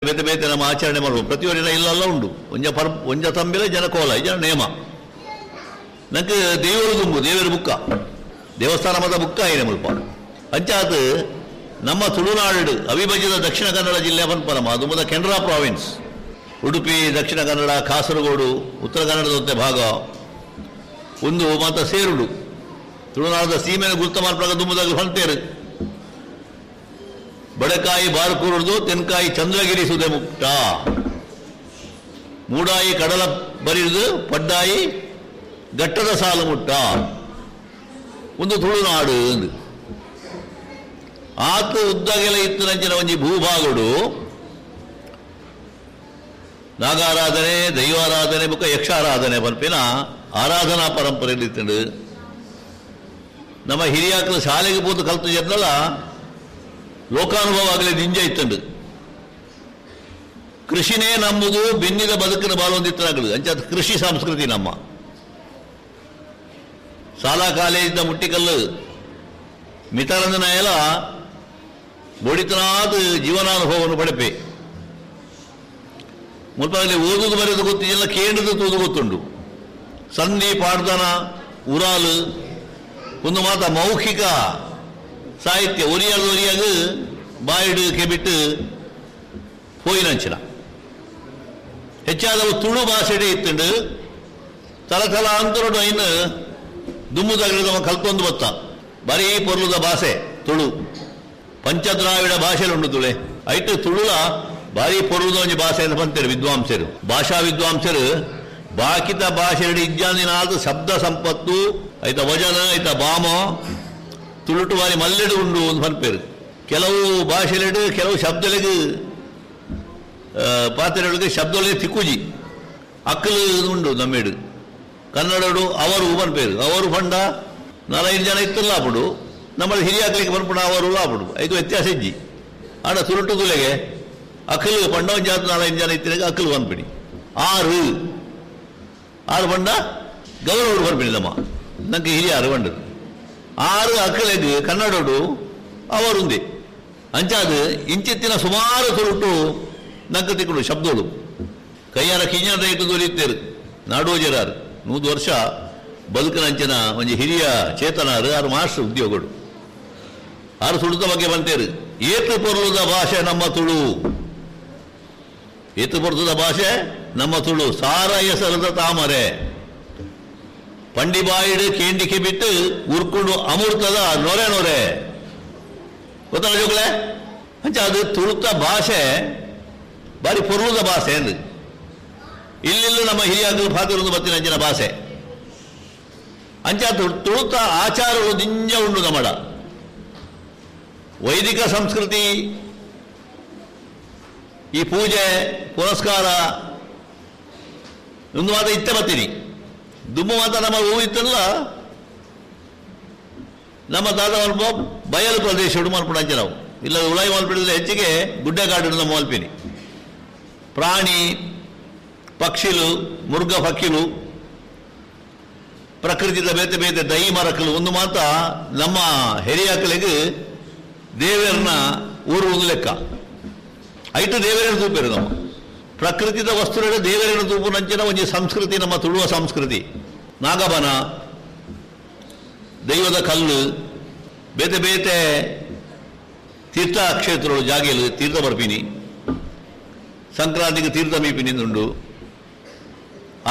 ಬೇತೆ ಬೇತೆ ನಮ್ಮ ಆಚರಣೆ ಮಾಡುವ ಪ್ರತಿಯೊರಿನ ಇಲ್ಲೆಲ್ಲ ಉಂಡು. ಒಂಜ ಪರ್ ಒಂಜ ತಂಬಿಲ ಜನ ಕೋಲ ಜನ ನೇಮ ನಂಗೆ ದೇವರು ದುಂಬು ದೇವರ ಬುಕ್ಕ ದೇವಸ್ಥಾನ ಮತ ಬುಕ್ಕ ಏನೆ ಮುಲ್ಪ ಅಂಚಾತ್ ನಮ್ಮ ತುಳುನಾಡು ಅವಿಭಜಿತ ದಕ್ಷಿಣ ಕನ್ನಡ ಜಿಲ್ಲೆ ಪನ್ಪನಮ ಅದು ಮುದ ಕೆನರಾ ಪ್ರಾವಿನ್ಸ್ ಉಡುಪಿ ದಕ್ಷಿಣ ಕನ್ನಡ ಕಾಸರಗೋಡು ಉತ್ತರ ಕನ್ನಡದಂತೆ ಭಾಗ ಒಂದು ಮಾತ ಸೇರುಡು ತುಳುನಾಡದ ಸೀಮೆನ ಗುರ್ತ ಮಾರ್ಪಗ ದುಂಬುದಾಗ ಹೊಂತೇರು ಬಡಕಾಯಿ ಬಾರ್ಕೂರುದು ತೆನ್ಕಾಯಿ ಚಂದ್ರಗಿರಿ ಸುದೆ ಮುಕ್ತ ಮೂಡಾಯಿ ಕಡಲ ಬರಿದು ಪಡ್ಡಾಯಿ ಘಟ್ಟದ ಸಾಲು ಮುಟ್ಟ ಒಂದು ತುಳುನಾಡು ಎಂದು ಆತ ಉದ್ದಗೆಲ ಇತ್ತು ನಂಚಿನ ಒಂಜಿ ಭೂಭಾಗಡು ನಾಗಾರಾಧನೆ ದೈವಾರಾಧನೆ ಬುಕ್ಕ ಯಕ್ಷಾರಾಧನೆ ಪನ್ಪಿನ ಆರಾಧನಾ ಪರಂಪರೆ ಇತ್ತಂಡು. ನಮ್ಮ ಹಿರಿಯಾಕಲು ಶಾಲೆಗೆ ಪೋತು ಕಲ್ತು ಜರ್ನಲ್ಲ ಲೋಕಾನುಭವ ಆಗಲಿ ನಿಂಜ ಇತ್ತಂಡು. ಕೃಷಿನೇ ನಮ್ಮದು ಬೆನ್ನಿದ ಬದುಕಿನ ಬಾಳೊಂದಿತ್ತನಾಗಲು ಅಂಚಾದ ಕೃಷಿ ಸಂಸ್ಕೃತಿ ನಮ್ಮ ಶಾಲಾ ಕಾಲೇಜಿನ ಮುಟ್ಟಿಕಲ್ಲು ಮಿತರಂದನ ಎಲ್ಲ ಬೊಡಿತನಾದ ಜೀವನಾನುಭವವನ್ನು ಪಡೆಪೆ ಮುಲ್ಪಾಗಲಿ ಓದುದು ಬರೆದು ಗೊತ್ತಿಲ್ಲ ಕೇಂದ್ರದ ತೂದು ಗೊತ್ತುಂಡು. ಸಂಧಿ ಪಾಡ್ದನ ಉರಾಲು ಒಂದು ಮಾತ ಮೌಖಿಕ ಸಾಹಿತ್ಯ ಒರಿಯಾಗ ಒರಿಯಾಗ ಬಾಯಿಡು ಕೆಬಿಟ್ಟು ಪೋಯಿನಂಚಿನ ಹೆಚ್ಚಾದವು ತುಳು ಭಾಷೆಡೆ ಇತ್ತುಂಡು. ತಲತಲಾಂತರಡು ಐನು ದುಮ್ಮುದಾಗಲಿ ನಮ್ಮ ಕಲ್ತೊಂದು ಬತ್ತ ಬರೀ ಪೊರ್ಲುದ ಭಾಷೆ ತುಳು ಪಂಚದ್ರಾವಿಡ ಭಾಷೆಲುಂಡು ತುಳೆ ಐಟು ತುಳುಲ ಭಾರಿ ಪೊರ್ಲುದ ಒಂಜಿ ಭಾಷೆ ಅಂತ ಬಂತೇರು ವಿದ್ವಾಂಸರು ಭಾಷಾ ವಿದ್ವಾಂಸರು ಬಾಕಿತ ಭಾಷೆಡು ಇಜ್ಜಾಂದಿನಾದ ಶಬ್ದ ಸಂಪತ್ತು ಐತ ವಜನ ಐತ ಬಾಮ ತುಳುಟು ಬಾರಿ ಮಲ್ಲೆಡು ಉಂಡು ಒಂದು ಪನ್ಪೇರು. ಕೆಲವು ಭಾಷೆಲೆಡು ಕೆಲವು ಶಬ್ದಲೆಗ್ ಪಾತ್ರೆಗಳಿಗೆ ಶಬ್ದಗಳಿಗೆ ತಿಕ್ಕುಜಿ ಅಕ್ಕಲು ಉಂಡು ನಮ್ಮೇಡು ಕನ್ನಡಡು ಅವರು ಪನ್ಪೇರು ಅವರು ಪಂಡ ನಾಲೈದು ಜನ ಇತ್ತಲ್ಲ ಅప్పుడు ನಮ್ಮಲ್ಲಿ ಹಿರಿಯಾಕ್ಲಿಕ್ಕೆ ಪನ್ಪುಣ ಅವರು ಅప్పుడు ಐದು ವ್ಯತ್ಯಾಸ ಇಜ್ಜಿ ಆಡ ತುಳುಟು ತುಲೆಗೆ ಅಕ್ಕಲು ಪಂಡ ಒಂದು ಜಾತ ನಾಲೈದು ಜನ ಇತ್ತಿನಾಗ ಅಕ್ಕಲು ಪನ್ಪಿಡಿ ಆರು ಆರು ಪಂಡ ಗೌರವರು ಪನ್ಪಿಡಿ ನಮ್ಮ ನಂಗೆ ಹಿರಿಯಾರು ಪಂಡರು ಆರು ಅಕ್ಕಲೆಗ್ ಕನ್ನಡೋಡು ಅವರುಂದೆ ಅಂಚಾದ ಇಂಚಿತ್ತಿನ ಸುಮಾರು ತುರುಟು ನಂಗೆ ತಿಕ್ಕುಡು ಶಬ್ದೋಳು ಕೈಯಾರ ಕಿಂಜನ ರೈತ ದೊರೆಯುತ್ತೇರು ನಾಡೋಜರಾರು 100 ವರ್ಷ ಬದುಕಿನಂಚಿನ ಒಂಜಿ ಹಿರಿಯ ಚೇತನಾರು ಆರು ಮಾಸ್ಟರ್ ಉದ್ಯೋಗಗಳು ಆರು ಸುಡುತ್ತ ಬಗ್ಗೆ ಬಂತೇರು. ಏತು ಪೊರ್ಲುದ ಭಾಷೆ ನಮ್ಮ ತುಳು ಏತು ಪೊರ್ಲುದ ಭಾಷೆ ನಮ್ಮ ತುಳು ಸಾರ ಎಸರದ ತಾಮರೆ ಪಂಡಿಬಾಯಿಡು ಕೇಂಡಿಕೆ ಬಿಟ್ಟು ಉರ್ಕೊಂಡು ಅಮೃತದ ನೊರೆ ನೊರೆ ಗೊತ್ತಲ್ಲ ಜೋಗುಳೆ ಅಂಚ ಅದು ತುಳುತ ಭಾಷೆ ಬಾರಿ ಪೊರ್ಲುದ ಭಾಷೆ ಎಂದು ಇಲ್ಲಿಲ್ಲೂ ನಮ್ಮ ಹಿರಿಯಾಗಲು ಫಾತಿರುಂದು ಬತ್ತಿನ ಅಂಚಿನ ಭಾಷೆ ಅಂಚ ತುಳುತ ಆಚಾರಗಳು ದಿಂಜ ಉಂಡು ನಮ್ಮಡ ವೈದಿಕ ಸಂಸ್ಕೃತಿ ಈ ಪೂಜೆ ಪುರಸ್ಕಾರ ಒಂದು ಮಾತ ಇತ್ತೆ ಬತ್ತೀನಿ ದುಮ್ಮು ಮಾತ ನಮ್ಮ ಹೂವು ಇತ್ತಲ್ಲ ನಮ್ಮ ತಾತ ಮಲ್ಪ ಬಯಲು ಪ್ರದೇಶ ಮಲ್ಪುಣ ಅಂಚೆ ನಾವು ಇಲ್ಲ ಉಳಾಯಿ ಮಲ್ಪಿಡಿದ್ರೆ ಹೆಚ್ಚಿಗೆ ಗುಡ್ಡಗಾಡು ನಮ್ಮ ಮಲ್ಪಿನಿ ಪ್ರಾಣಿ ಪಕ್ಷಿಲು ಮುರ್ಗ ಪಕ್ಕಿಲು ಪ್ರಕೃತಿದ ಬೇತೆ ಬೇತೆ ದೈ ಮರಕಲು ಒಂದು ಮಾತ ನಮ್ಮ ಹೆರಿಯಾಕಲಿಗೆ ದೇವರನ್ನ ಊರು ಒಂದು ಲೆಕ್ಕ ಐಟು ದೇವರೇನು ತೂಪೇರು ನಮ್ಮ ಪ್ರಕೃತಿದ ವಸ್ತುಗಳ ದೇವರೇನು ತೂಪು ನಂಚಿನ ಒಂಜಿ ಸಂಸ್ಕೃತಿ ನಮ್ಮ ತುಳುವ ಸಂಸ್ಕೃತಿ ನಾಗಬನ ದೈವದ ಕಲ್ಲು ಬೇತೆ ಬೇತೆ ತೀರ್ಥ ಕ್ಷೇತ್ರಗಳು ಜಾಗೆಲು ತೀರ್ಥ ಬರ್ಪಿನಿ ಸಂಕ್ರಾಂತಿಗೆ ತೀರ್ಥ ಮೀಪಿನಿಂದುಂಡು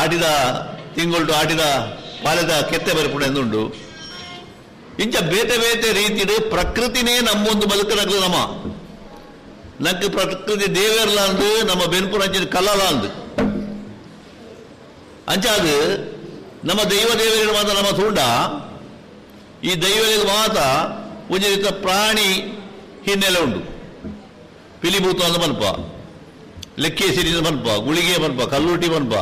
ಆಟಿದ ತಿಂಗೊಳ್ಟು ಆಟಿದ ಪಾಲೆದ ಕೆತ್ತೆ ಬರ್ಪುಣ ಎಂದುಂಡು ಇಂಚ ಬೇತೆ ಬೇತೆ ರೀತಿಡು ಪ್ರಕೃತಿನೇ ನಮ್ಮೊಂದು ಬದುಕನಗ್ಲು ನಮ್ಮ ನಂಗೆ ಪ್ರಕೃತಿ ದೇವೇರ್ಲ ಅಂದು ನಮ್ಮ ಬೆನ್ಪುರ ಅಂಚಿನ ಕಲ್ಲಲ ಅಂದು ಅಂಚಾದು ನಮ್ಮ ದೈವ ದೇವರಿಗೆ ಮಾತ್ರ ನಮ್ಮ ತೂಂಡ ಈ ದೈವರಿಗೆ ಮಾತ್ರ ಒಂಜಿ ರೀತಿಯ ಪ್ರಾಣಿ ಹಿನ್ನೆಲೆ ಉಂಡು ಪಿಲಿಭೂತ ಅಂದ ಮನ್ಪ ಲೆಕ್ಕೇಸಿರಿ ಮನ್ಪ ಗುಳಿಗೆ ಮನ್ಪ ಕಲ್ಲುಟಿ ಮನ್ಪ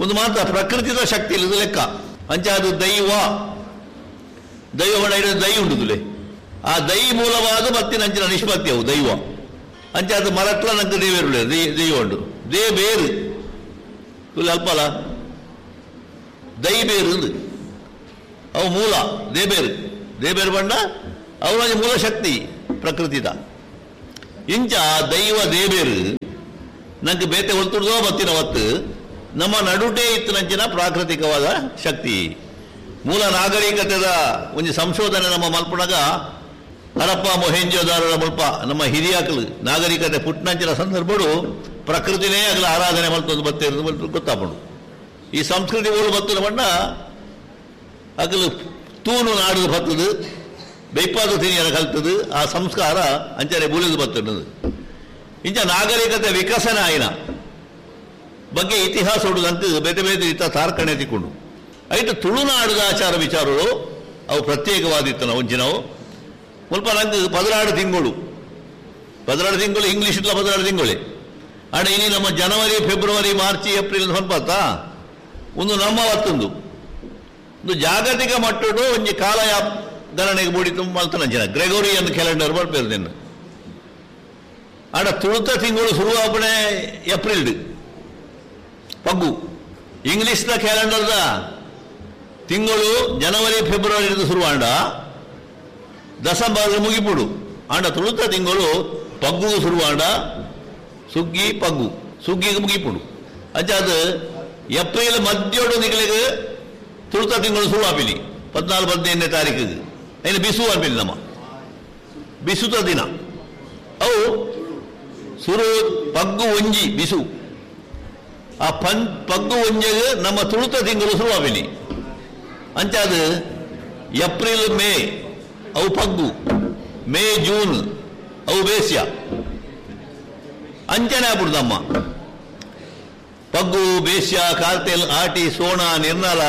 ಒಂದು ಮಾತ್ರ ಪ್ರಕೃತಿದ ಶಕ್ತಿ ಇಲ್ಲದ ಲೆಕ್ಕ ಅಂಚಾದು ದೈವ ದೈವ ದೈ ಉಂಡುದುಲೆ ಆ ದೈ ಮೂಲವಾದ ಮತ್ತಿನ ಅಂಚಿನ ನಿಷ್ಪತ್ತಿ ಅವು ದೈವ ಅಂಚಾದ ಮರಟ್ಲ ನಂಗೆ ದೇವೇರುಳೆ ದೈವ ಉಂಡು they ಬೇರು ತುಲೆ ಅಲ್ಪಲ್ಲ ದೈ ಬೇರು ಅಂದು ಅವು ಮೂಲ ದೇಬೇರು ದೇಬೇರು ಬಣ್ಣ ಅವರ ಮೂಲ ಶಕ್ತಿ ಪ್ರಕೃತಿದ. ಇಂಚ ದೈವ ದೇವೇರು ನಂಗೆ ಬೇತೆ ಒತ್ತುಡ್ದೋ ಬತ್ತಿನ ಒತ್ತು ನಮ್ಮ ನಡುಟೇ ಇತ್ತಿನಂಚಿನ ಪ್ರಾಕೃತಿಕವಾದ ಶಕ್ತಿ. ಮೂಲ ನಾಗರಿಕತೆದ ಒಂದು ಸಂಶೋಧನೆ ನಮ್ಮ ಮಲ್ಪುಣಗ ಹರಪ್ಪ ಮೊಹೆಂಜೋದಾರರ ಮುಲ್ಪ ನಮ್ಮ ಹಿರಿಯಾಕಲು ನಾಗರಿಕತೆ ಪುಟ್ಟನಂಚಿನ ಸಂದರ್ಭಡು ಪ್ರಕೃತಿನೇ ಆಗಲ ಆರಾಧನೆ ಮಲ್ತೊಂದು ಬತ್ತೆ ಗೊತ್ತಾಪುಂಡು. ಈ ಸಂಸ್ಕೃತಿ ಊರು ಬತ್ತಿನ ಬಣ್ಣ ಅಗಲು ತೂನು ನಾಡುದು ಬತ್ತದು ಬೆಯ್ಪಾದ ತಿನಿಯರ ಕಲ್ತದು ಆ ಸಂಸ್ಕಾರ ಅಂಚನೆ ಬೂಲಿದು ಬತ್ತದು. ಇಂಚ ನಾಗರಿಕತೆ ವಿಕಸನ ಆಯಿನ ಬಗ್ಗೆ ಇತಿಹಾಸ ಉಡುದಂತ ಬೇತೆ ಬೇತೆ ಇತ್ತ ತಾರ್ಕಣೆ ತಿಕ್ಕೊಂಡು ಐಟು ತುಳುನಾಡುದ ಆಚಾರ ವಿಚಾರಗಳು ಅವು ಪ್ರತ್ಯೇಕವಾದಿತ್ತು. ನಾವು ಒಂಜಿನವು ಮುಲ್ಪ ನಂಗೆ 16 ತಿಂಗಳು 16 ತಿಂಗಳು ಇಂಗ್ಲೀಷ್ ಇಟ್ಲ 16 ತಿಂಗಳೇ ಆಡ ಇನಿ ನಮ್ಮ ಜನವರಿ ಫೆಬ್ರವರಿ ಮಾರ್ಚ್ ಏಪ್ರಿಲ್ ಸ್ವಲ್ಪ ಒಂದು ನಮ್ಮ ಹೊತ್ತೊಂದು ಒಂದು ಜಾಗತಿಕ ಮಟ್ಟಡು ಒಂಜಿ ಕಾಲ ಗಣನೆಗೆ ಬೂಡಿ ತುಂಬ ಮಲ್ತನ ಜನ ಗ್ರೆಗೋರಿಯನ್ ಕ್ಯಾಲೆಂಡರ್ ಬರ್ಪೇರು. ಆಡ ತುಳುತ ತಿಂಗಳು ಶುರುವಾಪಣೆ ಏಪ್ರಿಲ್ ಪಗ್ಗು. ಇಂಗ್ಲೀಷ್ನ ಕ್ಯಾಲೆಂಡರ್ದ ತಿಂಗಳು ಜನವರಿ ಫೆಬ್ರವರಿ ಶುರುವಾಂಡ ದಸಂಬರ್ ಮುಗಿಪುಡು. ಆಂಡ ತುಳುತ ತಿಂಗಳು ಪಗ್ಗು ಶುರುವಾಂಡ ಸುಗ್ಗಿ ಪಗ್ಗು ಸುಗ್ಗಿಗೆ ಮುಗಿಪುಡು. ಅಜ್ಜ ಅದು ಏಪ್ರಿಲ್ ಮಧ್ಯೋಡು ನಿಗಳಿಗೆ ತುಳುತ ತಿಂಗಳು ಶುರುವಾಪಿನಿ 14 15ನೇ ತಾರೀಕಿಗೆ ಏನು ಬಿಸು ಅನ್ಪಿನಿ ನಮ್ಮ ಬಿಸುತ ದಿನ ಅವು ಸುರು ಪಗ್ಗು ಒಂಜಿ ಬಿಸು ಆ ಪಗ್ಗು ಒಂಜೆಗೆ ನಮ್ಮ ತುಳುತ ತಿಂಗಳು ಶುರುವಾಪಿನಿ. ಅಂಚಾದ ಏಪ್ರಿಲ್ ಮೇ ಅವು ಪಗ್ಗು, ಮೇ ಜೂನ್ ಅವು ಬೇಸ್ಯ ಅಂಚನೆ ಆಗ್ಬಿಡುದಮ್ಮ. ಪಗ್ಗು ಬೇಸ್ಯ ಕಾರ್ತೆಲ್ ಆಟಿ ಸೋಣ ನಿರ್ನಲ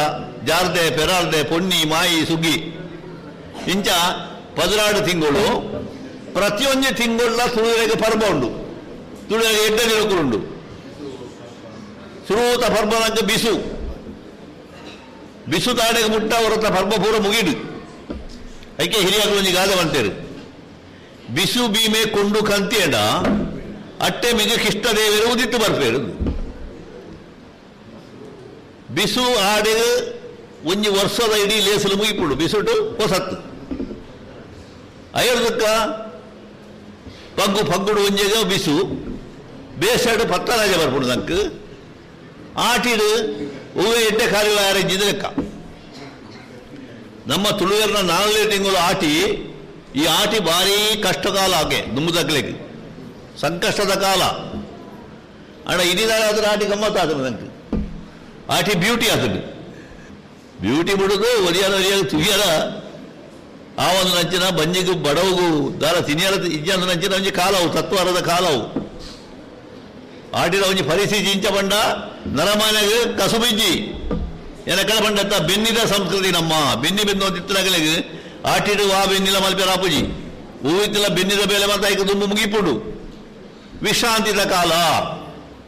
ಜಾರ್ದೆ ಪೆರಾರ್ದೆ ಪೊನ್ನಿ ಮಾಯಿ ಸುಗ್ಗಿ ಇಂಚ 16 ತಿಂಗಳು ಪ್ರತಿಯೊಂದು ತಿಂಗಳ ತುಳುವೆಗೆ ಪರ್ಬ ಉಂಡು. ತುಳುವೆಗೆ ಎಡ್ಡ ದಿನಕ್ಕುಂಡು. ಸುರೂತ ಪರ್ಬನಂಕ ಬಿಸು ಬಿಸು ತಾಡೆಗೆ ಮುಟ್ಟ ಹೊರತ ಪರ್ಬ ಪೂರ ಮುಗಿಡು. ಐಕೆ ಹಿರಿಯಾಗಲು ಒಂಜಿ ಗಾದೆ ಬಂತೇರು ಬಿಸು ಬೀಮೆ ಕೊಂಡು ಕಂತಿಯಡ ಅಟ್ಟೆ ಮಿಗ ಕಿಷ್ಟದೇವರು ಉದಿತ್ತು ಬರ್ಪೇರು. ಬಿಸು ಆಡೆಗೆ ಒಂಜಿ ವರ್ಷದ ಇಡೀ ಲೇಸಲು ಮುಗಿಪುಡು ಬಿಸುಟು ಹೊಸತ್ತು ಐರ್ದಕ್ಕ ಪಗ್ಗು ಪಗ್ಗುಡು ಒಂಜೆಗೆ ಬಿಸು ಬೇಸಡು ಪತ್ತರಾಜ ಬರ್ಪುಡು ನಂಗೆ ಆಟಿಡು ಹೂವೆ ಎಡ್ಡೆ ಕಾರ್ಯ ಆರೆಂಜಿದ ಲೆಕ್ಕ. ನಮ್ಮ ತುಳುವೆರ್ನ 4ನೇ ತಿಂಗಳು ಆಟಿ. ಈ ಆಟಿ ಭಾರೀ ಕಷ್ಟಕಾಲ ಆಗೆ ದುಂಬುದಗ್ಲಿಕ್ಕೆ ಸಂಕಷ್ಟದ ಕಾಲ. ಅಣ್ಣ ಇನಿದಾರೆ ಆದ್ರೆ ಆಟಿ ಗಮ್ಮತ್ತಾದ್ರೆ ನಂಗೆ ಆಟಿ ಬ್ಯೂಟಿ ಆತದು ಬ್ಯೂಟಿ ಬಿಡೋದು ಒರಿಯಾರ ಒರಿಯಾಗ ತುಗಿಯರ ಆ ಒಂದು ನಂಚಿನ ಬಂಜಿಗೂ ಬಡವಗೂ ದಾರ ತಿನಿಯರ ಇಜ್ಜಂದ ನಂಚಿನ ಒಂಜಿ ಕಾಲವು ತತ್ವಾರದ ಕಾಲವು ಆಟಿದ ಒಂಜಿ ಪರಿಸ್ಥಿತಿ ಇಂಚ ಬಂಡ ನರಮಾನ್ಯಾಗ ಕಸುಬಿಜ್ಜಿ ಏನ ಕಡೆ ಬಂಡತ್ತ ಬೆನ್ನಿದ ಸಂಸ್ಕೃತಿ ನಮ್ಮ ಬೆನ್ನಿ ಬೆನ್ನು ತಿತ್ತನಾಗಲಿಗೆ ಆಟಿಡು ಆ ಬೆನ್ನಿಲ ಮಲ್ಪೆರ ಆಪುಜಿ ಹೂವಿತ್ತಿಲ್ಲ ಬೆನ್ನಿದ ಬೇಲೆ ಮಾತ ಐಕ ದುಂಬು ಮುಗಿಪುಡು. ವಿಶ್ರಾಂತಿದ ಕಾಲ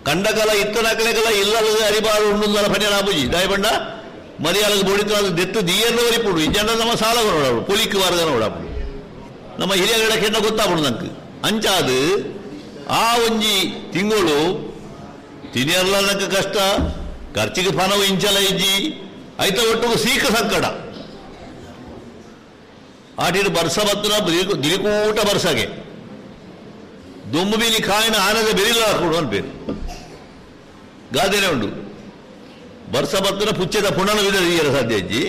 ಕಂಡಕಾಲ ಇತ್ತನಕಲೆಗಲ ಇಲ್ಲದ ಅರಿಬಾರು ಉಂಡುಂದಲ ಪನ್ಯರ ಆಪುಜಿ ದಾಯ ಬಂಡ ಮರಿಯಾಲಗ ಬೋಡಿತು ಅದು ದೆತ್ತು ದಿಯನ್ನು ವರಿಪುಡು ಇಜ್ಜಂಡ ನಮ್ಮ ಸಾಲ ನೋಡಾಡು ಪುಲಿಕ್ ವಾರಗ ನೋಡಾಪುಡು ನಮ್ಮ ಹಿರಿಯಗಳ ಕೆಂಡ ಗೊತ್ತಾಪುಡು ನಂಗೆ ಅಂಚಾದು ಆ ಒಂಜಿ ತಿಂಗಳು ತಿನಿಯರ್ಲ ನಂಗೆ ಕಷ್ಟ ಖರ್ಚಿಗೆ ಪನವು ಇಂಚಲ ಇಜ್ಜಿ ಐತ ಒಟ್ಟಿಗೆ ಸೀಕ ಸಂಕಟ ಆಟಿಡು ಬರ್ಸ ಬತ್ತನ ದಿಲಿಕೂಟ ಬರ್ಸಗೆ ದುಂಬು ಬೀಲಿ ಕಾಯಿನ ಆನದ ಬೆರಿಲ್ಲ ಹಾಕೊಡು ಅನ್ಪೇರು ಗಾದೆನೆ ಉಂಡು ಬರ್ಸ ಬತ್ತನ ಪುಚ್ಚದ ಪುಣನ ವಿಧ ಸಾಧ್ಯ ಇಜ್ಜಿ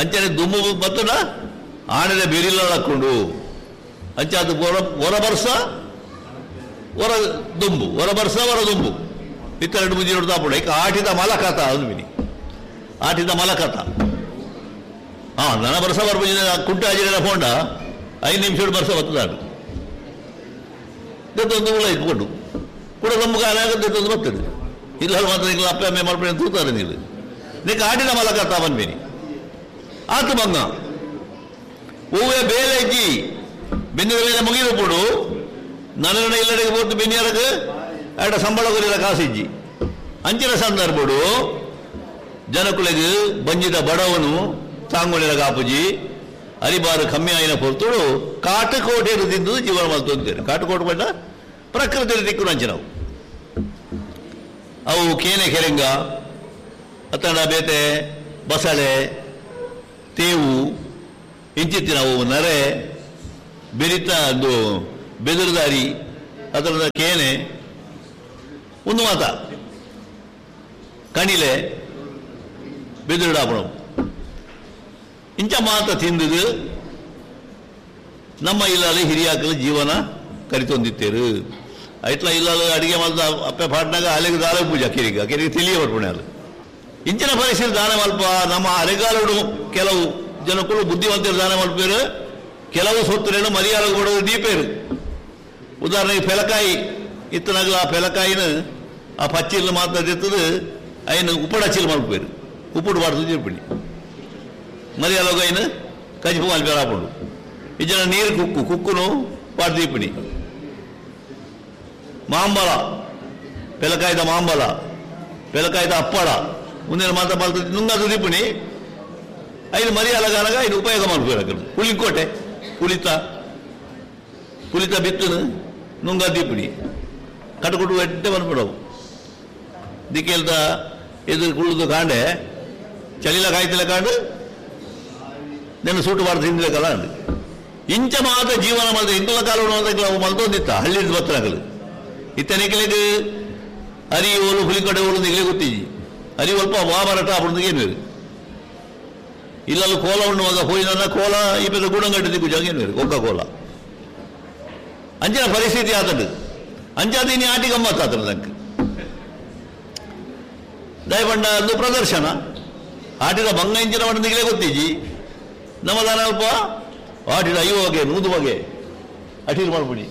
ಅಂಚನೆ ದುಂಬು ಬತ್ತನ ಆನದ ಬೆರಿಲ್ಲ ಹಾಕೊಂಡು ಅಂಚೆ ಅದು ಹೊರ ಬರ್ಸ ಹೊರ ದುಂಬು ಹೊರ ಬರ್ಸ ಹೊರ ದುಂಬು ಇತ್ತೆರಡು ಮುಂಜಿ ನೋಡ್ತಾ ಈಗ ಆಟಿದ ಮಲಕತ ಅದು ಮಿನಿ ಆಟಿದ ಮಲಕತ ಹಾಂ ನನ್ನ ಬರ್ಸ ಬರ್ಪುಜಿ ಕುಂಟೆ ಹಾಜಿರ ಫೋಂಡ 5 ನಿಮಿಷ ಬರ್ಸ ಬರ್ತದಾಡು ದತ್ತೊಂದು ಉಳ ಇಟ್ಕೊಂಡು ಕೂಡ ನಮ್ಗೆ ಅನಾಗದ್ದೊಂದು ಬರ್ತದೆ ಇಲ್ಲ ಮಾತ್ರ ನೀವು ಅಪ್ಪ ಅಮ್ಮೆ ಮಾಡ್ಬೇಡಿ ಅಂತ ತೂತಾರೆ ನೀವು ನೀಕೆ ಆಟಿದ ಮಲಕತ ಬಂದ್ಮೇನಿ ಆತು ಬಂಗ ಹೂವೇ ಬೇಲೆ ಇಜ್ಜಿ ಬೆನ್ನಿದ ಮೇಲೆ ಮುಗಿದು ಕೊಡು ನನ್ನ ಇಲ್ಲಡೆಗೆ ಪೋತು ಬೆನ್ನಿಯರಕ್ಕೆ ಆಡ ಸಂಬಳ ಕೊರಿದ ಕಾಸಿಜ್ಜಿ ಅಂಚಿನ ಸಂದರ್ಭಡು ಜನಕುಲೆಗೆ ಬಂಜಿದ ಬಡವನು ತಾಂಗುಳಿರ ಕಾಪುಜಿ ಅರಿಬಾರು ಕಮ್ಮಿ ಆಯಿನ ಪೊರ್ತುಡು ಕಾಟುಕೋಟೆ ತಿಂದು ಜೀವನ ಮಲ್ತೊಂತೇರು. ಕಾಟುಕೋಟೆ ಬಣ್ಣ ಪ್ರಕೃತಿ ದಿಕ್ಕು ನಂಚಿನವು ಅವು ಕೇನೆ ಕೆರೆಂಗ ಅತ್ತಂಡ ಬೇತೆ ಬಸಳೆ ತೇವು ಇಂಚಿತ್ತಿನವು ನರೆ ಬೆರಿತ ಅದು ಬೆದರುದಾರಿ ಅದರ ಕೇನೆ ಒಂದು ಮಾತ ಕಣಿಲೆ ಬೆದರುಡಾಪಣವು ಇಂಚ ಮಾತ ತಿಂದುದು ನಮ್ಮ ಇಲ್ಲಲ್ಲಿ ಹಿರಿಯಾಕಲು ಜೀವನ ಕರಿತೊಂದಿತ್ತೇರು. ಐಟ್ಲ ಇಲ್ಲಲ್ಲಿ ಅಡಿಗೆ ಮಲ್ದ ಅಪ್ಪೆ ಪಾಟ್ನಾಗ ಅಲೆಗೆ ದಾಲ ಪೂಜೆ ಕೆರಿಗೆ ಕೆರಿಗೆ ತಿಳಿಯ ಬರ್ಪಣೆ ಅದು ಇಂಚಿನ ಪರಿಸ್ಥಿತಿ ದಾನ ಮಲ್ಪ ನಮ್ಮ ಅರೆಗಾಲುಡು ಕೆಲವು ಜನಕ್ಕಳು ಬುದ್ಧಿವಂತರು ದಾನ ಮಲ್ಪೇರು, ಕೆಲವು ಸೊತ್ತುರೇನು ಮರ್ಯಾದೆ ಕೊಡೋದು ದೀಪೇರು. ಉದಾಹರಣೆಗೆ ಪೆಲಕಾಯಿ ಇತ್ತನಾಗಲ ಆ ಪೆಲಕಾಯಿನ ಆ ಪಚ್ಚಿಲ್ ಮಾತ್ರ ತಿತ್ತದು ಐನು ಉಪ್ಪಡ ಚಿಲ್ ಮಲ್ಪೇರು, ಉಪ್ಪುಡು ಬಾಡ್ದು చెప్పండి ಮರ್ಯಾಲೋಗ ಐನು ಕಜಿಪು ಮಲ್ಪೇರು ಆಪುಂಡು. ಇಜ್ಜನ ನೀರು ಕುಕ್ಕು ಕುಕ್ಕುನು ಪಾಡ್ ದೀಪಿಣಿ. ಮಾಂಬಲ ಪೆಲಕಾಯ್ದ ಮಾಂಬಲ ಪೆಲಕಾಯ್ದ ಅಪ್ಪಳ ಮುಂದಿನ ಮಾತ್ರ ಮಲ್ತ ನುಂಗದು ದೀಪಿಣಿ ಐದು ಮರಿಯಾಲಗಾನಗ ಐದು ಉಪಯೋಗ ಮಲ್ಪೇರು. ಅక్కడ ಪುಳಿಕೋಟೆ ಪುಳಿತ ಪುಳಿತ ಬಿತ್ತನು ನುಂಗ ದೀಪಿಣಿ ಕಟಕುಟು ಎಡ್ಡೆ ಬಂದ್ಬಿಡವು. ದಿಕ್ಕೆಲ್ದ ಎದುರು ಕುಳ್ಳುದು ಕಾಂಡೆ ಚಳಿಲ ಕಾಯ್ತಿಲ್ಲ ಕಾಂಡು ನೆನ್ನ ಸೂಟು ಬಾರ್ದು ತಿಂದಿಲ್ಲ ಅಂದು ಇಂಚ ಮಾತ್ರ ಜೀವನ ಮಲ್ತ ಇಂತಲ ಕಾಲ ಮಲ್ತೊಂದಿತ್ತ ಹಳ್ಳಿ ಬತ್ತನಗಲು ಇತ್ತನಿಕಲಿಗೆ ಅರಿ ಓಲು ಹುಲಿಕಡೆ ಓಲು ನಿಗಲೇ ಗೊತ್ತಿಜಿ ಅರಿ ಒಲ್ಪ ವಾಮರಟ ಅప్పుడు ಏನು ಇಲ್ಲಲ್ಲಿ ಕೋಲ ಉಣ್ಣುವಾಗ ಹೋಯಿನ ಕೋಲ ಈ ಪೆದ್ದ ಗುಣಗಡ್ಡೆ ದಿಕ್ಕು ಏನು ಒಕ್ಕ ಕೋಲ ಅಂಚಿನ ಪರಿಸ್ಥಿತಿ ಆತಂಡು ಅಂಚಾದ ಇನಿ ಆಟಿ ಗಮ್ಮತ್ತು ಆತನ ನಂಗೆ ದಯಪಂಡ ಒಂದು ಪ್ರದರ್ಶನ ಆಟಿದ ಬಂಗ ಇಂಚಿನ ಮಂದಿಗಲೇ ಗೊತ್ತಿಜಿ ನಮ್ಮ ದಾನ ಅಲ್ಪ ಆಟಿದ ಐವು ಬಗೆ 100 ಬಗೆ ಅಟೀಲ್ ಮಾಡ್ಬಿಡಿ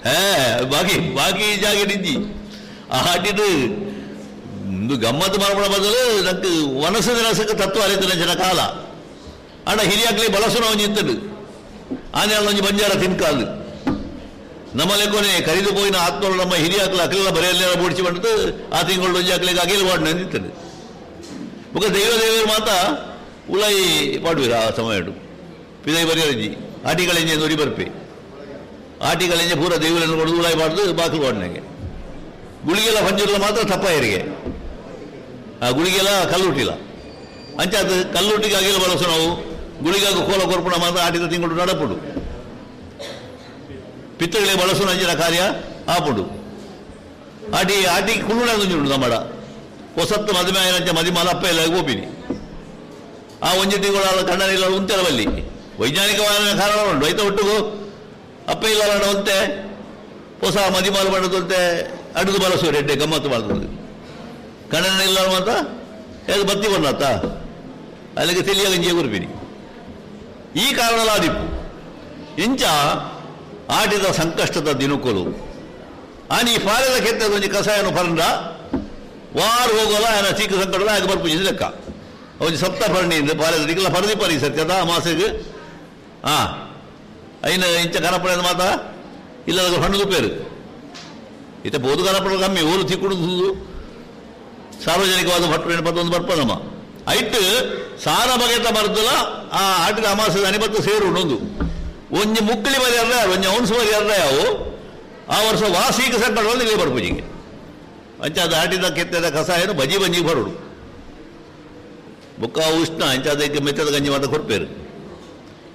ಹೇ ಬಾಕಿ ಬಾಕಿ ಜಾಗೆ ನಿಂಜಿ ಆ ಆಟಿದು ಒಂದು ಗಮ್ಮತ್ತು ಮಾಡ್ಬಿಡ ಬದಲು ನಂಗೆ ವನಸು ನಿರಸಕ್ಕೆ ತತ್ವ ಅರಿತು ಜನ ಕಾಲ ಅಣ್ಣ ಹಿರಿಯಾಗ್ಲಿ ಬಳಸುನ ಒಂಜಿ ಇತ್ತದು ಆನೆ ಒಂಜಿ ಬಂಜಾರ ತಿನ್ಕಾದು ನಮ್ಮ ಲೆಕ್ಕೊನೆ ಕರಿದು ಪೋಯಿನ ಆತ್ಮರು ನಮ್ಮ ಹಿರಿಯಾಕ್ಲ ಅಕ್ಲೆಲ್ಲ ಬರೆಯಲ್ಲೆಲ್ಲ ಬೋಡಿಸಿ ಬಂದು ಆ ತಿಂಗಳು ಒಂಜಿ ಅಕ್ಲೆಗೆ ಅಗಿಲ್ ವಾಡ್ನ ಅಂದಿತ್ತದು. ಬೊಕ ದೈವ ದೇವರು ಮಾತ ಉಲಾಯಿ ಪಾಡುವಿರ ಆ ಸಮಯ ಪಿದೈ ಬರೆಯಂಜಿ ಆಟಿಗಳೆಂಜೆ ನುರಿ ಬರ್ಪೆ ಆಟಿಗಳೆಂಜೆ ಪೂರ ದೇವರನ್ನು ಕೊಡೋದು ಉಲಾಯಿ ಬಾಡ್ದು ಬಾಕಲು ವಾಡ್ನಾಗೆ ಗುಳಿಗೆಲ್ಲ ಪಂಜುರ್ಲ ಮಾತ್ರ ತಪ್ಪ ಹೆರಿಗೆ ಆ ಗುಳಿಗೆಲ್ಲ ಕಲ್ಲುಟ್ಟಿಲ್ಲ ಅಂಚಾದ ಕಲ್ಲುಟ್ಟಿಗೆ ಅಗಿಲ್ ಬಳಸು ನಾವು ಗುಳಿಗಾಗ ಕೋಲ ಕೊರ್ಪುಣ ಮಾತ್ರ ಆಟಿದ ತಿಂಗಳು ನಡಪುಡು ಪಿತ್ತಗಳಿಗೆ ಬಳಸುವ ಅಂಚಿನ ಕಾರ್ಯ ಆಪುಡು. ಆಟಿ ಆಟಿ ಕುಳ್ಳುಣ ಉಂಟು ನಮ್ಮಡ ಹೊಸತ್ತು ಮದುವೆ ಆಯನಂಚ ಮದಿಮಾಲ ಅಪ್ಪ ಎಲ್ಲ ಗೋಪಿನಿ ಆ ಒಂಜಿ ತಿಂಗಳು ಕಣ್ಣನಿಲ್ಲ ಉಂತೆಲ್ಲ ಬಲ್ಲಿ ವೈಜ್ಞಾನಿಕವಾದ ಕಾರಣ ಉಂಟು ಐತ ಒಟ್ಟಿಗೂ ಅಪ್ಪ ಇಲ್ಲ ಒಂತೆ ಹೊಸ ಮದಿಮಾಲ ಬಣ್ಣದಂತೆ ಅಡುದು ಬಳಸುವ ರೆಡ್ಡೆ ಗಮ್ಮತ್ತು ಮಾಡ್ತದೆ ಕಣ್ಣನಿಲ್ಲ ಮಾತ್ರ ಅದು ಬತ್ತಿ ಬಣ್ಣತ್ತ ಅಲ್ಲಿಗೆ ತಿಳಿಯ ಗಂಜಿಯ ಗುರುಪಿನಿ ಈ ಕಾರಣಲಾದಿಪ್ಪು ಇಂಚ ಆಟಿದ ಸಂಕಷ್ಟದ ದಿನಕುಲು ಆನಿ ಫಾರದ ಕೆತ್ತದ ಒಂಜಿ ಕಷಾಯನು ಪರಂಡ ವಾರ ಹೋಗೋಲ್ಲ ಆನ ಚೀಕ ಸಂಕಟದ ಆಗ ಬರ್ಪುಜಿ ಲೆಕ್ಕ ಒಂಜಿ ಸಪ್ತ ಪರಣಿಯಿಂದ ಪಾರದ ದಿಕ್ಕಲ ಪರದಿ ಪರಿ ಸತ್ಯದ ಅಮಾಸೆಗೆ ಆ ಐನ ಇಂಚ ಕನಪಡೆ ಮಾತ ಇಲ್ಲ ಹಣ್ಣು ಪೇರು ಇತ್ತ ಬೋದು ಕನಪಡ ಕಮ್ಮಿ ಊರು ತಿಕ್ಕುಡು ಸಾರ್ವಜನಿಕವಾದ ಭಟ್ರು ಪತ್ತೊಂದು ಬರ್ಪದಮ್ಮ ಐಟ್ ಸಾರ ಬಗೆತ ಮರ್ದಲ ಆ ಆಟಿದ ಅಮಾಸದ ಅನಿಬತ್ತು ಸೇರು ಉಂಡು ಒಂಜಿ ಮುಕ್ಕಳಿ ಬರಿಯರ್ರ ಒಂಜಿ ಔನ್ಸು ಬರಿಯರ್ರ ಯಾವು ಆ ವರ್ಷ ವಾಸೀಕ ಸಂಕಟದಲ್ಲಿ ಇಲ್ಲಿ ಬರ್ಪುಜಿಗೆ ಅಂಚಾದ ಆಟಿದ ಕೆತ್ತದ ಕಷಾಯನು ಬಜಿ ಬಂಜಿ ಬರುಡು ಬುಕ್ಕ ಉಷ್ಣ ಅಂಚಾದಕ್ಕೆ ಮೆತ್ತದ ಗಂಜಿ ಮಾತ ಕೊಡ್ಪೇರು.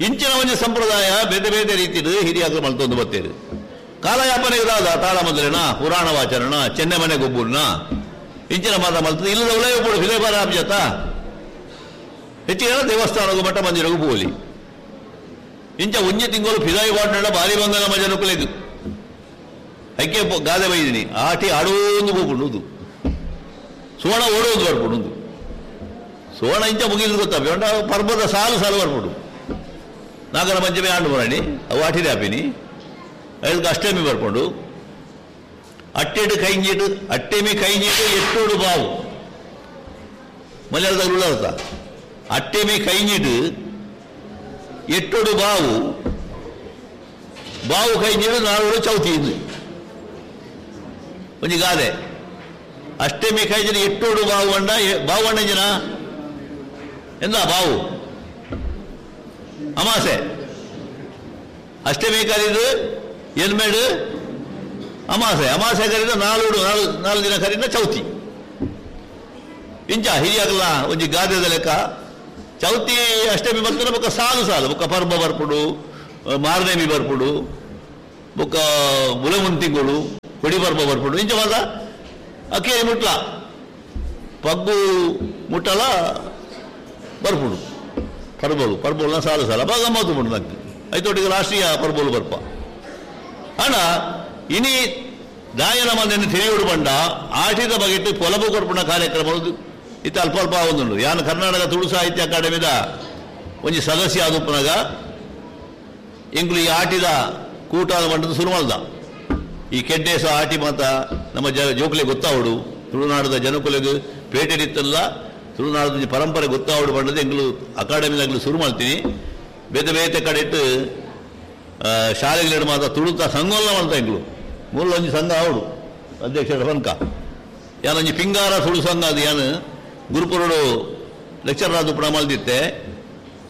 ಇಂಚಿನ ಒಂಜಿ ಸಂಪ್ರದಾಯ ಬೇರೆ ಬೇರೆ ರೀತಿದು ಹಿರಿಯಾಗಲು ಮಲ್ತೊಂದು ಬತ್ತೇರು. ಕಾಲಯಾಪನೆ ಇದಾದ ತಾಳ ಮೊದಲಿನ ಪುರಾಣ ವಾಚರಣ ಚೆನ್ನೆ ಮನೆ ಗೊಬ್ಬುರ್ನ ಇಂಚಿನ ಮಾತ ಮಲ್ತದ ಇಲ್ಲದ ಉಲಯ ಪೋಡು ಫಿಲೇಬಾರ ಆಬ್ಜತ ಹೆಚ್ಚಿನ ದೇವಸ್ಥಾನಗೂ ಮಠ ಮಂದಿರಗೂ ಪೋಲಿ ಇಂಚ ಒಂಜಿ ತಿಂಗಳು ಫಿದಾಯಿ ವಾಡ್ನಡ ಭಾರಿ ಬಂಗದ ಮಜನುಕುಲೆಗು ಐಕೆ ಗಾದೆ ಬೈದಿನಿ ಆಟಿ ಆಡೋಂದು ಹೋಗ್ಬಿಡುದು ಸುವರ್ಣ ಓಡೋದು ಬರ್ಬಿಡುದು ಸುವರ್ಣ ಇಂಚ ಮುಗಿದು ಗೊತ್ತಾ ಬೇಡ ಪರ್ವದ ಸಾಲು ಸಾಲು ಬರ್ಬಿಡು ನಾಗರ ಪಂಚಮಿ ಆಂಡು ಬರಣಿ ಅವು ಆಟಿರಿ ಆಪಿನಿ ಅದಕ್ಕೆ ಅಷ್ಟಮಿ ಬರ್ಕೊಂಡು ಅಟ್ಟೆಡು ಕೈಂಜಿಟ್ಟು ಅಟ್ಟೆಮಿ ಕೈಂಜಿಟ್ಟು ಎಟ್ಟೋಡು ಬಾವು ಮಲಯಾಳದಾಗ ಉಳ್ಳಾರ್ಥ ಅಟ್ಟೆಮಿ ಕೈಂಜಿಟ್ಟು ಎಟ್ಟೋಡು ಬಾವು ಬಾವು ಕೈಂಜಿಡು ನಾಲ್ವರು ಚೌತಿ ಇದು ಒಂಜಿ ಗಾದೆ ಅಷ್ಟಮಿ ಕೈಂಜಿನ ಎಟ್ಟೋಡು ಬಾವು ಅಂಡ ಬಾವು ಅಣ್ಣ ಎಂದ ಬಾವು ಅಮಾಸೆ ಅಷ್ಟಮಿ ಕರೀದು ಎನ್ಮೇಡು ಅಮಾಸೆ ಅಮಾಸೆ ಕರೀದ ನಾಲ್ಕು ನಾಲ್ಕು ನಾಲ್ಕು ದಿನ ಕರೀದ ಚೌತಿ ಇಂಚ ಹಿರಿಯಾಗಲ್ಲ ಒಂಜಿ ಗಾದೆದ ಲೆಕ್ಕ ಚೌತಿ ಅಷ್ಟಮಿ ಬರ್ತಾರೆ ಬೊಕ್ಕ ಸಾಲು ಸಾಲು ಬೊಕ್ಕ ಪರ್ಬ ಬರ್ಪುಡು ಮಾರನೇಮಿ ಬರ್ಪುಡು ಬೊಕ್ಕ ಬುಲೆಮುನ್ ತಿಂಗಳು ಕೊಡಿ ಪರ್ಬ ಬರ್ಪುಂಡು ಇಂಚ ಮಾತ ಅಕ್ಕೇರಿ ಮುಟ್ಲ ಪಗ್ಗು ಮುಟ್ಟಲ ಬರ್ಪುಂಡು ಪರ್ಬೋಲು ಪರ್ಬೋಲ್ನ ಸಾಲು ಸಾಲ ಅಪ್ಪ ಗಮ್ಮತ್ತು ಉಂಟು ನಂಗೆ ಐತೊಟ್ಟಿಗೆ ರಾಷ್ಟ್ರೀಯ ಪರ್ಬೋಲು ಬರ್ಪ ಅಣ್ಣ ಇನಿ ದಾಯನ ಮಂದೆಯನ್ನು ತಿಳಿಯೋಡು ಬಂಡ ಆಟಿದ ಬಗೆಟ್ಟು ಪೊಲಬು ಕೊರ್ಪುಣ ಕಾರ್ಯಕ್ರಮ ಇತ್ತ ಅಲ್ಪ ಅಲ್ಪ ಒಂದುಂಡು. ಯಾನು ಕರ್ನಾಟಕ ತುಳು ಸಾಹಿತ್ಯ ಅಕಾಡೆಮಿದ ಒಂಜಿ ಸದಸ್ಯ ಆದುಪ್ಪನಾಗ ಎಂಗ್ಲು ಈ ಆಟಿದ ಕೂಟ ಬಂಡದ ಶುರು ಮಾಡ್ದ. ಈ ಕೆಡ್ಡೇಸ ಆಟಿ ಮಾತ ನಮ್ಮ ಜೋಕುಲೆ ಗೊತ್ತಾವಡು, ತುಳುನಾಡದ ಜನಕುಲೆಗ್ ಪೇಟೆಡಿತ್ತಲ್ಲ ತುಳುನಾಡದ ಪರಂಪರೆ ಗೊತ್ತಾವಡು ಬಂಡದ ಎಂಗ್ಲು ಅಕಾಡೆಮಿದಾಗ್ಲು ಶುರು ಮಾಡ್ತೀನಿ. ಬೇತೆ ಬೇತೆ ಕಡೆ ಇಟ್ಟು ಶಾಲೆಗಳಿಡು ಮಾತ ತುಳುತ ಸಂಘವಲ್ಲ ಮಾಡ್ತಾ ಎಂಗ್ಲು ಮೂಲೊಂಜಿ ಸಂಘ ಆವಡು ಅಧ್ಯಕ್ಷರ ಪನ್ಕ ಯಾನೊಂಜಿ ಪಿಂಗಾರ ತುಳು ಸಂಘ ಅದು ಯಾನು ಗುರುಪುರುಡು ಲೆಕ್ಚರ್ ಆದ ಪುಣ ಮಲ್ದಿತ್ತೆ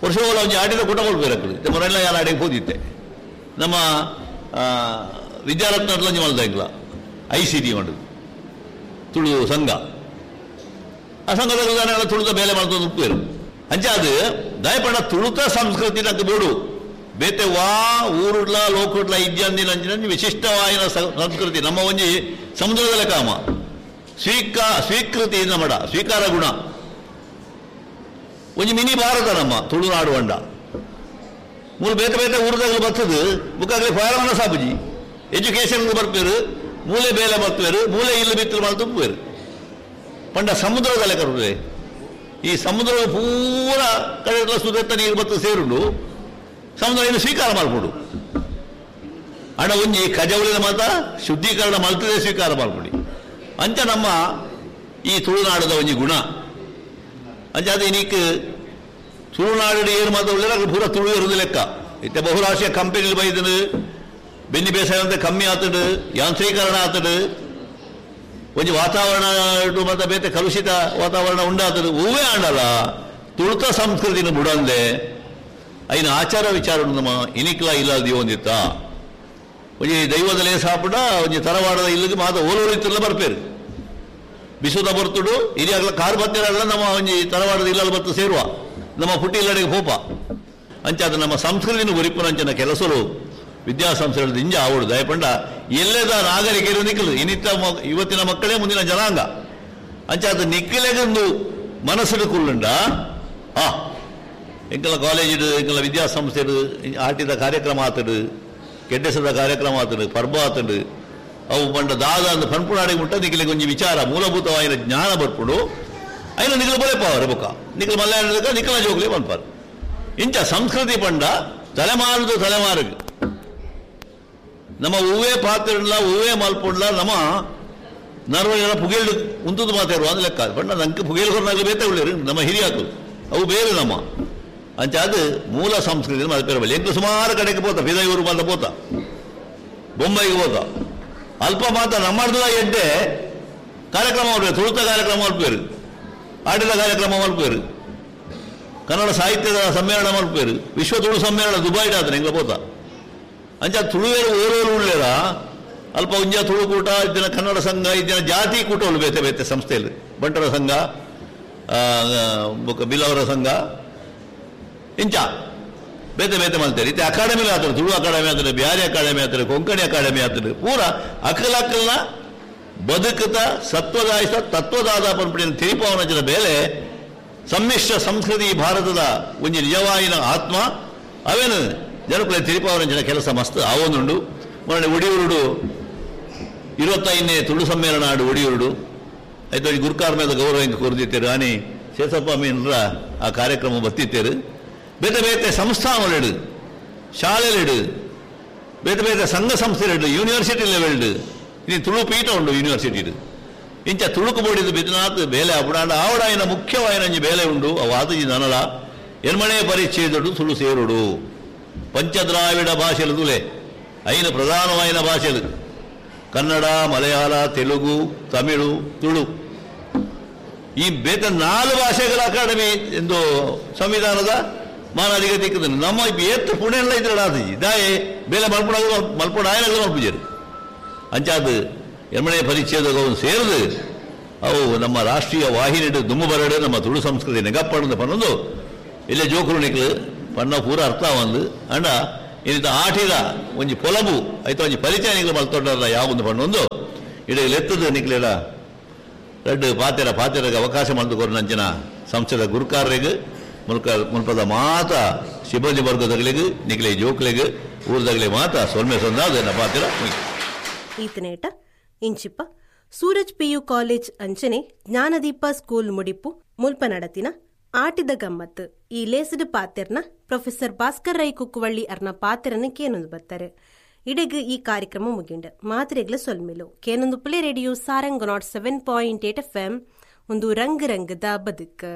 ವರ್ಷಗಳ ಒಂಜಿ ಆಟಿದ ಕೂಟ ಮಲ್ಪೇರು ಮೊರೆಲ್ಲ ಯಾರು ಆಡಿಗೆ ಹೋದಿತ್ತೆ ನಮ್ಮ ವಿದ್ಯಾರತ್ನ ಒಂಜಿ ಮಲ್ದ ಎಂಗ್ಲ I C T ಮಾಡೋದು ತುಳು ಸಂಘ. ಆ ಸಂಘದ ತುಳುತ ಬೇಲೆ ಮಾಡ್ಕೊಂಡು ಉಪ್ಪೇರು ಅಂಚ ಅದು ದಯಪಡ ತುಳುತ ಸಂಸ್ಕೃತಿ ನಂಗೆ ಬೋಡು ಬೇತೆ ವಾ ಊರುಡ್ಲ ಲೋಕುಡ್ಲ ಇದ್ಯಾಂದಿನ ಅಂಚಿನ ವಿಶಿಷ್ಟವಾಯಿನ ಸಂಸ್ಕೃತಿ ನಮ್ಮ ಒಂಜಿ ಸಮುದ್ರದಲ್ಲ ಕಾಮ ಸ್ವೀಕೃತಿ ನಮ್ಮಡ ಸ್ವೀಕಾರ ಗುಣ ಒಂಜಿ ಮಿನಿ ಭಾರತ ನಮ್ಮ ತುಳುನಾಡು ಅಂಡ ಮೂರು ಬೇತೆ ಬೇತೆ ಊರುದಾಗಲು ಬರ್ತದೆ ಬುಕ್ಕಾಗಲಿ ಫಾರಮನ ಸಾಬುಜಿ ಎಜುಕೇಶನ್ ಬರ್ಪೇರು ಮೂಲೆ ಬೇಲೆ ಬರ್ಪೇರು ಮೂಲೆ ಇಲ್ಲು ಬಿತ್ತಲು ಮಾಡಿ ತುಪ್ಪೇರು ಪಂಡ ಸಮುದ್ರದಲ್ಲೇ ಕರುವೆ ಈ ಸಮುದ್ರ ಪೂರ ಕಡೆ ಸುದತ್ತ ನೀರು ಬತ್ತು ಸೇರುಂಡು ಸಮುದ್ರ ಏನು ಸ್ವೀಕಾರ ಮಾಡ್ಕೊಡು ಅಣ್ಣ ಒಂಜಿ ಕಜವಳಿನ ಮಾತ ಶುದ್ಧೀಕರಣ ಮಾಡ್ತದೆ ಸ್ವೀಕಾರ ಮಾಡ್ಕೊಡಿ ಅಂಚ ನಮ್ಮ ಈ ತುಳುನಾಡದ ಒಂಜಿ ಗುಣ ಅಂಚ ಅದು ಇನ್ನೀಕ್ ತುಳುನಾಡು ಏನು ಮಾತ್ರ ಒಳ್ಳೆ ಪೂರ ತುಳು ಇರುವುದು ಲೆಕ್ಕ ಇತ್ತೆ ಬಹುರಾಷ್ಟ್ರೀಯ ಕಂಪೆನಿಲಿ ಬೈದನು ಬೆನ್ನಿ ಬೇಸಾಯ ಅಂತ ಕಮ್ಮಿ ಆತಡು ಯಾಂತ್ರೀಕರಣ ಆತಡು ಒಂಜಿ ವಾತಾವರಣ ಮತ್ತೆ ಬೇತೆ ಕಲುಷಿತ ವಾತಾವರಣ ಉಂಡಾತಡು ಹೂವೇ ಆಂಡಲ್ಲ ತುಳುತ ಸಂಸ್ಕೃತಿನ ಬುಡಂದೆ ಐನ ಆಚಾರ ವಿಚಾರ ನಮ್ಮ ಇನಿಕ್ಲ ಇಲ್ಲ ದಿವೊಂದಿತ್ತ ಒಂಜಿ ದೈವದಲೇ ಸಾಪುಡ ಒಂಜಿ ತರವಾಡದ ಇಲ್ಲಿಗೆ ಮಾತ ಓಲೋರಿತ್ತಲ್ಲ ಬರ್ಪೇರು ಬಿಸುದ ಬರ್ತುಡು ಹಿರಿಯಾಗಲ ಕಾರ್ ಬತ್ತಿರಲ್ಲ ನಮ್ಮ ಒಂಜಿ ತರವಾಡದ ಇಲ್ಲಲ್ಲಿ ಬತ್ತು ಸೇರುವ ನಮ್ಮ ಪುಟ್ಟಿ ಇಲ್ಲಡೆಗೆ ಹೋಪ ಅಂಚಾದ ನಮ್ಮ ಸಂಸ್ಕೃತಿನ ಒರಿಪುನಂಚಿನ ಕೆಲಸರು ವಿದ್ಯಾಸಂಸ್ಥೆಗಳು ಇಂಜ ಆವಡು ದಯಪಂಡ ಎಲ್ಲದ ನಾಗರಿಕರು ನಿಕ್ಕಲು ಇನ್ನಿತ್ತ ಇವತ್ತಿನ ಮಕ್ಕಳೇ ಮುಂದಿನ ಜನಾಂಗ ಅಂಚಾದ ನಿಕ್ಕಲೆಗೊಂದು ಮನಸ್ಸು ಕುಲ್ಲುಂಡ ಆ ಎಂಕಲ ಕಾಲೇಜಿಡು ಎಂಕಲ ವಿದ್ಯಾಸಂಸ್ಥೆಡು ಆಟಿದ ಕಾರ್ಯಕ್ರಮ ಆತಡು ಕೆಡ್ಡೆಸದ ಕಾರ್ಯಕ್ರಮ ಆತಡು ಪರ್ಬ ಆತಡು ಅವು ಪಂಡ ದಾದ ಅಂದ್ ಪನ್ಪುನಾಡಿಗೆ ಮುಟ್ಟ ನಿಕ್ಕಲಿಗೆ ಒಂಜಿ ವಿಚಾರ ಮೂಲಭೂತವಾಯಿನ ಜ್ಞಾನ ಬರ್ಪುಡು ಐನ ನಿಕ್ಕಲು ಬೊಲೆಪಾವರು ಬೊಕ್ಕ ನಿಕ್ಕಲು ಮಲ್ಯಾಣ ನಿಕ್ಕಲ ಜೋಗ್ಲಿ ಪನ್ಪಾರು ಇಂಚ ಸಂಸ್ಕೃತಿ ಪಂಡ ತಲೆಮಾರುದು ತಲೆಮಾರುಗೆ ನಮ್ಮ ಹೂವೇ ಪಾತ್ರೆಲ್ಲ ಹೂವೇ ಮಲ್ಪುಂಡ್ಲ ನಮ್ಮ ನರ್ವಜನ ಪುಗೇಳು ಉಂತುದು ಮಾತಾಡುವ ಅಂದ್ ಲೆಕ್ಕ ಪಂಡ ನಂಗೆ ಪುಗೇಲು ಹೊರನಾಗಲಿ ಬೇತೆ ಉಳ್ಳೇರು ನಮ್ಮ ಹಿರಿಯಾಕು ಅವು ಬೇರೆ ನಮ್ಮ ಅಂಚ ಅದು ಮೂಲ ಸಂಸ್ಕೃತಿ ಮಲ್ಪೇರಬಲ್ಲಿ ಎಂಟು ಸುಮಾರು ಕಡೆಗೆ ಪೋತ ಪಿದಯೂರು ಮಾತ ಪೋತ ಬೊಂಬೈಗೆ ಪೋತ ಅಲ್ಪ ಮಾತ ನಮ್ಮರ್ದ ಎಡ್ಡೆ ಕಾರ್ಯಕ್ರಮ ಮಾಡ್ಬೇಕು ತುಳುತ ಕಾರ್ಯಕ್ರಮ ಮಲ್ಪೇರು ಆಟಿದ ಕಾರ್ಯಕ್ರಮ ಮಲ್ಪೇರು ಕನ್ನಡ ಸಾಹಿತ್ಯದ ಸಮ್ಮೇಳನ ಮಲ್ಪೇರು ವಿಶ್ವ ತುಳು ಸಮ್ಮೇಳನ ದುಬೈಡ್ ಆದ್ರೆ ಎಂಗ್ಲ ಪೋತ ಅಂಚ ತುಳುವೇರು ಓರೋರು ಉಳ್ಳೇರ ಅಲ್ಪ ಒಂಜ ತುಳುಕೂಟ ಇದ್ದಿನ ಕನ್ನಡ ಸಂಘ ಇದ್ದಿನ ಜಾತಿ ಕೂಟಗಳು ಬೇತೆ ಬೇತೆ ಸಂಸ್ಥೆಯಲ್ಲಿ ಬಂಟರ ಸಂಘ ಬಿಲ್ಲವರ ಸಂಘ ಇಂಚ ಬೇತೆ ಬೇತೆ ಮಾಡ್ತಾರೆ ಇತ್ತೆ ಅಕಾಡೆಮಿ ಆತರು ತುಳು ಅಕಾಡೆಮಿ ಆತರು ಬ್ಯಾರಿ ಅಕಾಡೆಮಿ ಆತರು ಕೊಂಕಣಿ ಅಕಾಡೆಮಿ ಆತರು ಪೂರ ಅಕಲ ಅಕಲ್ನ ಬದುಕುತ್ತ ಸತ್ವದಾಯಿಸ ತತ್ವದಾದ ಪಂಪಿನ ತಿರಿಪವನಂಚಿನ ಬೇಲೆ ಸಮ್ಮಿಶ್ರ ಸಂಸ್ಕೃತಿ ಭಾರತದ ಒಂಜಿ ನಿಜವಾಯಿನ ಆತ್ಮ ಅವೇನು ಜನಕುಲೆ ತಿರಿಪವನಂಚಿನ ಕೆಲಸ ಮಸ್ತ್ ಆವೊಂದುಂಡು. ಮೊನ್ನೆ ಒಡಿಯೂರುಡು 25ನೇ ತುಳು ಸಮ್ಮೇಳನ ಆಡು ಒಡಿಯೂರುಡು ಆಯ್ತು ಗುರುಕಾರ ಮೇಲೆ ಗೌರವ ಹಿಂಗೆ ಕೊರ್ದಿತ್ತೇರು ಆನಿ ಶೇಷಪ್ಪ ಮೀನ್ರ ಆ ಕಾರ್ಯಕ್ರಮ ಬತ್ತಿತ್ತೇರು. ಬೇತೆ ಬೇತೆ ಸಂಸ್ಥಾನಗಳಿಡು ಶಾಲೆಗಳಿಡು ಬೇತೆ ಬೇತೆ ಸಂಘ ಸಂಸ್ಥೆಗಳಿಡು ಯೂನಿವರ್ಸಿಟಿ ಲೆವೆಲ್ಡು ಇನ್ನು ತುಳು ಪೀಠ ಉಂಡು ಯೂನಿವರ್ಸಿಟಿ ಇಂಚ ತುಳುಕು ಬೋಡಿದ್ದು ಬಿದ್ನಾಥ್ ಬೇಲೆ ಅಪುಡಾಂಡ ಆವಡಾಯಿನ ಮುಖ್ಯವಾಯಿನ ಬೇಲೆ ಉಂಡು ಅವು ಆತಜಿ ನನಲ ಎನ್ಮಣೆ ಪರಿಚ್ಛೇದಡು ತುಳು ಸೇರುಡು ಪಂಚದ್ರಾವಿಡ ಭಾಷೆಲು ತುಲೆ ಐನ ಪ್ರಧಾನವಾಯಿನ ಭಾಷೆಲು ಕನ್ನಡ ಮಲಯಾಳ ತೆಲುಗು ತಮಿಳು ತುಳು ಈ ಬೇತ 4 ಭಾಷೆಗಳ ಅಕಾಡೆಮಿ ಎಂದು ಸಂವಿಧಾನದ ಮಾನಾಧಿಗತಿ ನಮ್ಮ ಏತ್ತು ಪುಣೆಲ್ಲ ಇದ್ರೆ ಆತಜಿ ದಾಯೆ ಬೇಲೆ ಮಲ್ಪುಡ ಮಲ್ಪುಡ ಆಯನಗಳು ಮಲ್ಪುಜರು ಅಂಚಾದ ಎಮ್ಮಣೆ ಪರಿಚ್ಛೇದವನ್ನು ಸೇರಿದು ಅವು ನಮ್ಮ ರಾಷ್ಟ್ರೀಯ ವಾಹಿನಿ ದುಮ್ಮು ಬರಡು ನಮ್ಮ ತುಳು ಸಂಸ್ಕೃತಿ ನೆಗಪ್ಪಣದ ಪನ್ನೊಂದು ಇಲ್ಲೇ ಜೋಕುರು ನಿಕ್ಲು ಪನ್ನ ಪೂರ ಅರ್ಥ ಒಂದು ಅಂಡ ಇನಿತ ಆಟಿದ ಒಂಜಿ ಪೊಲಬು ಐತ ಒಂಜಿ ಪರಿಚಯ ನಿಕ್ಲೆ ಮಲ್ತೊಂಡರ ಯಾವೊಂದು ಪಂಡೊಂದು ಇಡೆ ಲೆತ್ತದು ನಿಕ್ಲೆಡ ರಡ್ಡ್ ಪಾತೆರ ಪಾತೆರಗ ಅವಕಾಶ ಮಲ್ತು ಕೊರ್ನಂಚಿನ ಸಂಸ್ಥೆದ ಗುರುಕಾರರಿಗೆ ಮುಲ್ಕ ಮುಲ್ಪದ ಮಾತ ಸಿಬ್ಬಂದಿ ವರ್ಗದಗಳಿಗೆ ನಿಕ್ಲೆ ಜೋಕ್ಲೆಗ್ ಊರ್ದಗಲೆ ಮಾತ ಸೊಲ್ಮೆ ಸೊಂದಾದ ಪಾತೆರ ಮುಗಿ. ಈತನೇಟ ಇಂಚಿಪ್ಪ ಸೂರಜ್ ಪಿಯು ಕಾಲೇಜ್ ಅಂಚನೆ ಜ್ಞಾನದೀಪ ಸ್ಕೂಲ್ ಮುಡಿಪು ಮುಲ್ಪ ನಡತಿನ ಆಟಿದ ಗಮ್ಮತ್ ಈ ಲೇಸಡ್ ಪಾತೆರ್ನ ಪ್ರೊಫೆಸರ್ ಭಾಸ್ಕರ್ ರೈ ಕುಕ್ಕುವಳ್ಳಿ ಅರ್ನ ಪಾತೆರನ ಕೇನೊಂದು ಬರ್ತಾರೆ. ಇಡೆಗ್ ಈ ಕಾರ್ಯಕ್ರಮ ಮುಗಿಂಡ್ ಮಾತ್ರೆಗ್ಲ ಸೊಲ್ಮಿಲು ಕೇನೊಂದು ಪುಲೆ ರೇಡಿಯೋ ಸಾರಂಗ್ 7.8 ಎಫ್ ಎಂ ಒಂದು ರಂಗ್ ರಂಗದ ಬದುಕು.